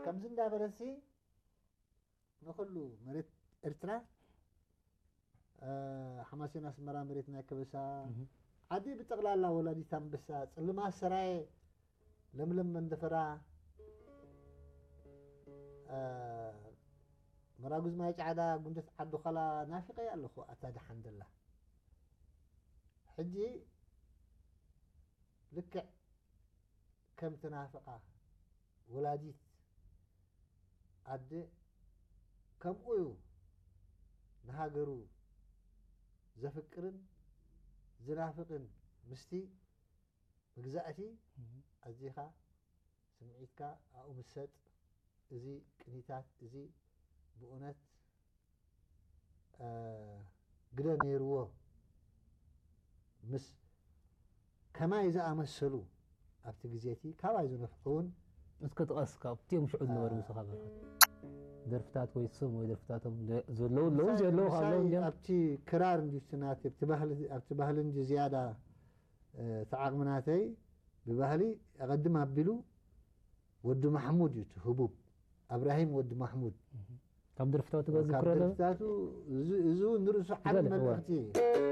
ከምዚ እንዳበለሲ ንኹሉ መሬት ኤርትራ፣ ሓማሴን ኣስመራ መሬት ናይ ከበሳ፣ ዓዲ ብጠቕላላ ወላዲት ኣንበሳ፣ ጽልማ ሰራየ፣ ለምለም መንደፈራ፣ መራጉዝ ማይ ጫዕዳ፣ ጉንደት ዓዲ ዃላ ናፊቐ ኣለኹ። ኣታ ደሓን ደላ ሕጂ ልክዕ ከም ትናፍቓ ወላዲት ኣደ፣ ከምኡ እዩ ንሃገሩ ዘፍቅርን ዝናፍቕን። ምስቲ መግዛእቲ ኣዚኻ ስምዒትካ ኣብኡ ምሰጥ። እዚ ቅኒታት እዚ ብእውነት ግደ ነይርዎ። ምስ ከማይ ዝኣመሰሉ ኣብቲ ግዜ እቲ ካባይ ዝነፍዑ እውን እስከ ጥቀስ ካብቲኦም ሽዑ ዝነበሩ ምሳኻ በረኸት ደርፍታት ወይ ስም ወይ ደርፍታቶም ዘለዉ ኣለዉ ዘየለዉ ካብ ኣለዉ እንዲኦም ኣብቲ ክራር እንዲዩ እቲ ናተይ ኣብቲ ባህሊ እንዲ ዝያዳ እቲ ዓቕሚ ናተይ ብባህሊ ኣቐድም ኣቢሉ ወዲ ማሕሙድ እዩ እቲ ህቡብ ኣብራሂም ወዲ ማሕሙድ ካብ ደርፍታቱ ካብ ገዝክሮ ዶ ደርፍታቱ እዚ እውን ንርእሱ ዓቢ በል፣ እወ። መልእኽቲ እዩ።